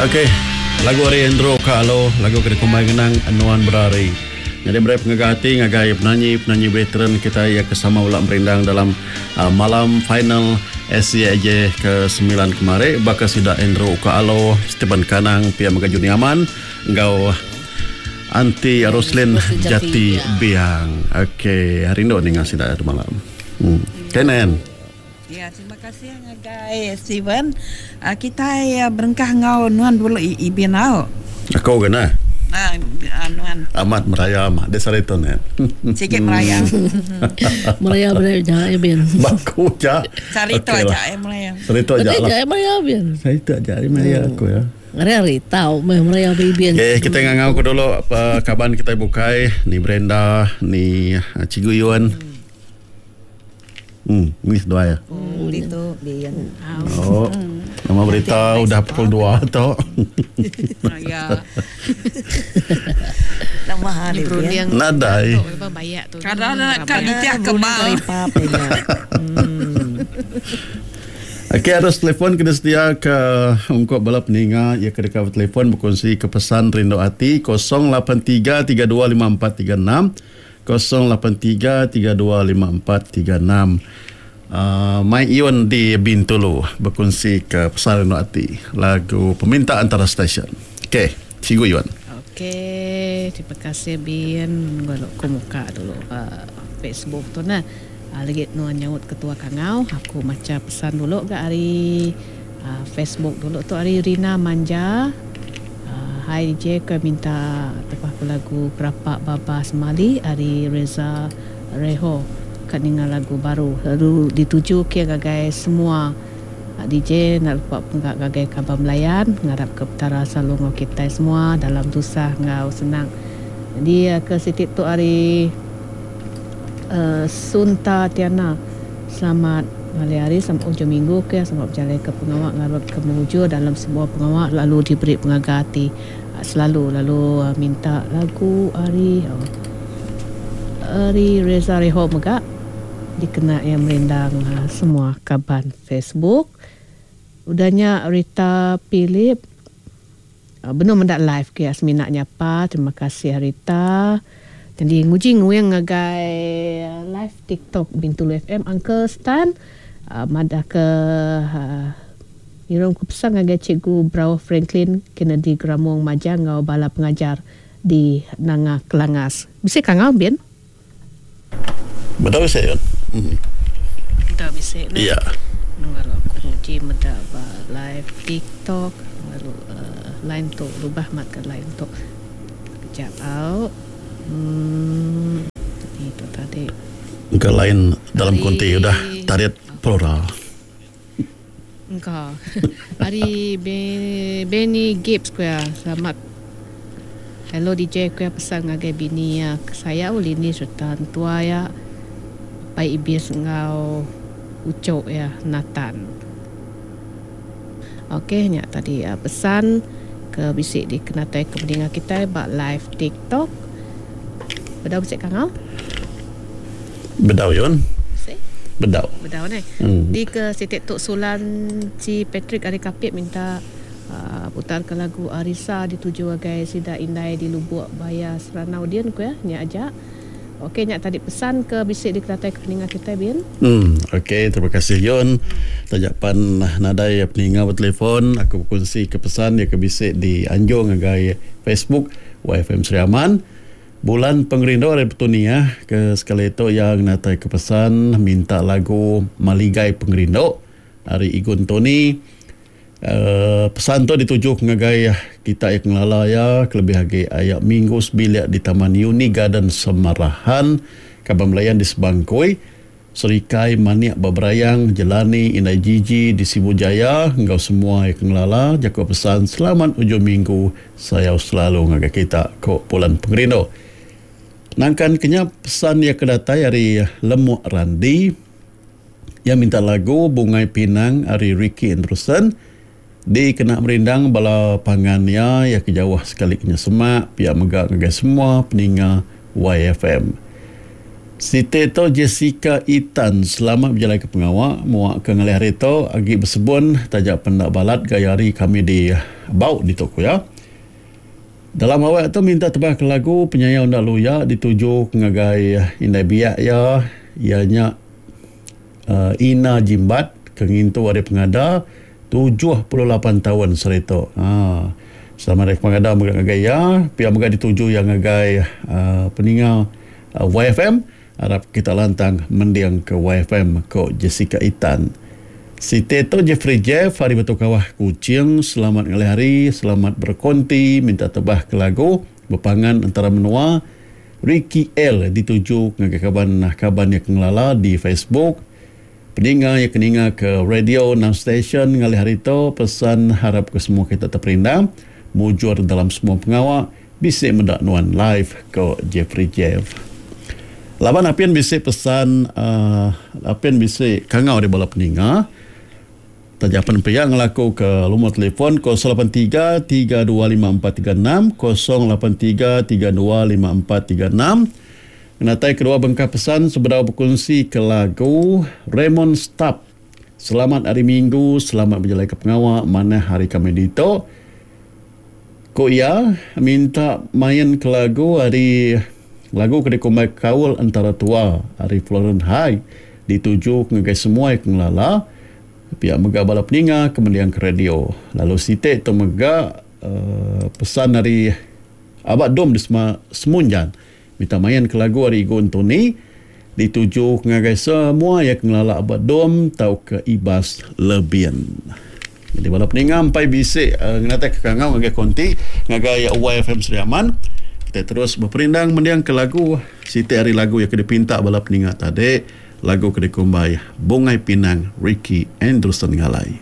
Okey, lagu ari Andrew ka alu lagu ke dikumbai ngenang Nuan Berari. Nyadi meri pengaga ati ngagai penanyi-penanyi veteran kitai iya ke sama bela merindang dalam malam final SCAJ ke semilan kemari baka sida Andrew Uka Alo, Stephen Kanang pia mega Juni Aman enggau Aunty Roslyn Jati Biang. Okey, rindu ninga sida tu malam. Hmm. Kenen. Ya, terima kasih ngagai Steven. Kitai berengkah enggau nuan dulu Ibin au. Aku ke nah. Ah, nuan. Amat meraya amat di sehari tu nen. Sikit meraya. Meraya beri ja Ibin. Baku ja. Sehari tu aja ya meraya. Sehari tu aja lah. Meraya Ibin. Sehari tu aja meraya aku ya. Hari-hari tau meh meraya Ibin. Okay, kita ngangau ke dulu kaban kita bukai ni Brenda ni Cikgu Yun. Hmm, ni seduai ya. Hmm, ditu bin. Oh. Nama berita udah pukul 2 tu. Ya. Nama hari bin. Nadai. Kada ka nitih ke bal. Okey arus telefon kena sedia ke ungkup bala peninga iya ke deka betelefon bekunsi ke pesan rindu ati 083 32 54 36. 083325436 Mai Iun di Bintulu bekunsi ke pesan rindu ati lagu peminta antara stesen. Okey, Cikgu Iun. Okey, terima kasih Bin. Lalu ku muka dulu Facebook tu nah. Lagi nuan nyaut ketua kangau, aku macha pesan dulu ga ari Facebook dulu tu ari Rina Manja. Hai DJ ke minta tebah ku lagu Kerapa Baba Semali ari Reza Reho ka ninga lagu baru lalu dituju ke ngagai semua DJ enda lupa pengga ngagai kaban belayan ngarap ke petara selalu enggau kitai semua dalam tusah enggau senang nyadi ke siti tu ari Sunta Tiana selamat ngalih hari selamat ujung minggu ke selamat bejalai ke pengawa ngarap ke mujur dalam semua pengawa lalu diberi pengaga ati selalu lalu minta lagu ari ari Reza Reho mega dikena iya merindang semua kaban Facebook. Udah nya Rita Philip benung meda live ke semina nyapa terima kasih Rita. Nyadi nguji nguing ngagai live TikTok Bintulu FM Uncle Stan madah ke ngirum ke pesan ngagai Cikgu Brauh Franklin Kennedy Gramong Majang enggau bala pengajar di Nanga Kelangas. Bisi kangau bin? Bedau bisi yun. Bedau bisi ne. Iya. Lalu aku nguji meda ba live TikTok lalu line tu lubah mat ga line tu. Kejap au. Uhh itu tadi. Engka lain dalam konti udah tarit plural. Engka. Ari Benny Gibbs ku iya selamat hello DJ ku iya pesan ngagai bini iya ke sayau Lini sereta entua iya Apai Ibis enggau uchu iya Nathan. Ok nya tadi pesan ke bisi dikenatai ke peninga kitai ba live tiktok. Bedau bisi kangau? Bedau yun. Bisi? Bedau. Bedau neh. Di ke siti tu Sulan Chi Patrick ari Kapit minta putar ke lagu Arisa dituju agai sida indai di Lubuk Baya Seranau din ku iya. Nya aja. Ok nya tadi pesan ke bisi dikenatai ke peninga kitai bin. Em ok terima kasih Yun. Taja pan nadai peninga betelefon aku bekunsi ke pesan iya ke bisi di anjung ngagai Facebook YFM Sri Aman. Bulan Pengerindu ari Petunia ke sekali tu iya ngenatai ke pesan minta lagu Maligai Pengerindu ari Igun Tony. Pesan tu dituju ngagai kita iya ke ngelala iya kelebih agi aya minggu sebilik di Taman Uni Garden Semarahan, Kaban Belayan di Sebangkoi, Serikai Manik ba Berayang, Jelani Indai Jiji di Sibu Jaya enggau semua iya ke ngelala jaku pesan selamat ujung minggu sayau selalu ngagai kita, ku Pulan Pengerindu. Nangkan ke nya pesan iya ke datai ari Lemuk Randi. Iya minta lagu Bungai Pinang ari Ricky Andrewson dikena merindang bala pangan iya iya ke jauh sekali ke nya semak pia mega ngagai semua peninga YFM. Siti tu Jessica Itan selamat bejalai ke pengawa mua ke ngalih hari tu agi besebun taja pen enda balat gaya hari kami di Bau ditu ku iya. Dalam awak tu minta tebah ke lagu penyayau enda luya dituju ke ngagai indai biak iya iya nya uhh Ina Jimbat ke ngintu hari pengada 78 taun sehari tu. Haa selamat hari pengada mega ngagai iya pia mega dituju iya ngagai uhh peninga YFM arap kita lantang mending ke YFM ko Jessica Itan. Siti tu Jeffrey Jeff ari Batu Kawah Kuching selamat ngalih hari selamat berkonti minta tebah ke lagu bepangan entara menua Ricky L dituju ngagai kaban kaban iya ke ngelala di Facebook peninga iya ke ninga ke radio enam station ngalih hari tu pesan harap ke semua kita teperindang mujur dalam semua pengawa Bisi meda nuan live ko Jeffrey Jeff. Laban apin bisi pesan uhh apin bisi kangau ari bala peninga. Taja pen pia ngelaku ke lumur telefon 083 325436 083 325436. Ngenatai kedua bengkah pesan sebedau bekunsi ke lagu Raymond Stap. Selamat hari minggu, selamat bejalai ke pengawa manah hari kami ditu. Ku iya, minta main ke lagu ari lagu ke dikumbai Kaul Entara Tua ari Florence High dituju ngagai semua ke ngelala pia mega bala peninga ke mending ke radio. Lalu siti tu mega uhh pesan ari Aba Dom di Semunjan minta main ke lagu ari Igu Entoni dituju ngagai semua iya ke ngelala Aba Dom tauka Ibas Lebin. Jadi bala peninga empai bisi ngenatai ke kangau ngagai konti ngagai YFM Sri Aman. Kita terus beperindang mending ke lagu siti ari lagu iya ke dipinta bala peninga tadi lagu ke dikumbai Bungai Pinang Ricky Anderson Ngalai.